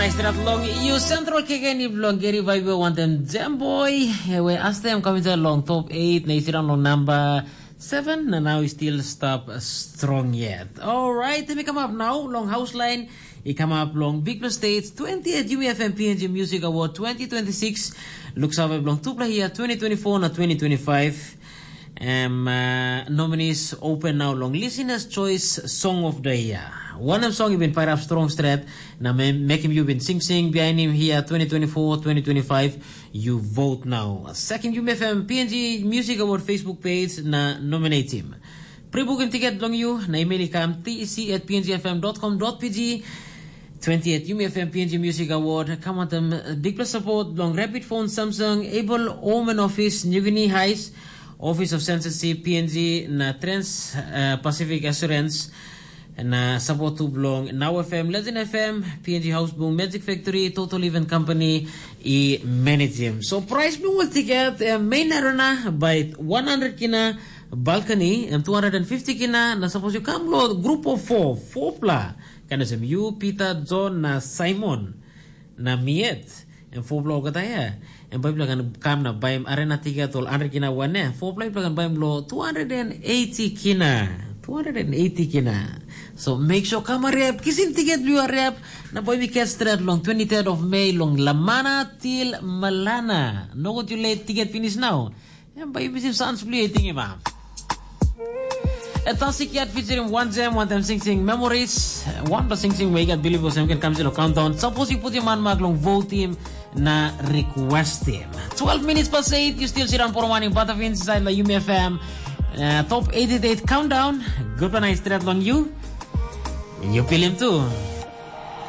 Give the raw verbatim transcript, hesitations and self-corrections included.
Strat long you central kekeni bilong geri vibe wanten Jam Boy. Ewe astem kamita long top eight na isiran long number seven na now still stop strong yet. All right, let me come up now long house line. I come up long Big Plus States twentieth Yumi F M P N G Music Award twenty twenty-six. Looks over long two play here twenty twenty-four na twenty twenty-five. Em uh, nominees open now long Listeners Choice Song of the Year. One of song you've been fired up strong strat. Na me- make him you've been sing sing behind him here twenty twenty-four, twenty twenty-five. You vote now. Second Yumi F M P N G Music Award Facebook page na nominate him. Pre-booking ticket long you na email i kam T E C at P N G F M dot com dot P G. Twenty-eight Yumi F M P N G Music Award. Come on them. Big plus support long Rapid Phone Samsung Able Home and Office New Guinea Heist, Office of Censorship P N G na Trans uh, Pacific Assurance. Na support tu bilong Now F M, Legend F M, P N G House Boom, Magic Factory, Total Event Company, i manage him. So price bilong ol ticket, eh, main arena by one hundred kina, balcony em two hundred fifty kina. Na suppose you come lo group of four, four pla, kan sem you, Peter, John na Simon na miet. Em four pla olgeta ya. Em bai pla kan kam na baim arena ticket ol hundred kina wan ya. Four pla pla kan baim lo two hundred eighty kina. Two hundred eighty kina. So make sure come hurry up, kisim ticket lu hurry up. Na boy mi catch straight long twenty-third of May long Lamana till Malana. No go too late, ticket finish now. Em bai mi sim sans bli ting ma. A Toxic Cat featuring One Jam, One Time Sing Sing Memories. One plus Sing Sing Wake Up Believe was can come to the countdown. Suppose you put your man mark long vote him na request him. Twelve minutes past eight, you still sit on Poromani Butterfin inside the Yumi F M. Uh, top eighty-eight countdown. Good one, I straight long you. You feel him too.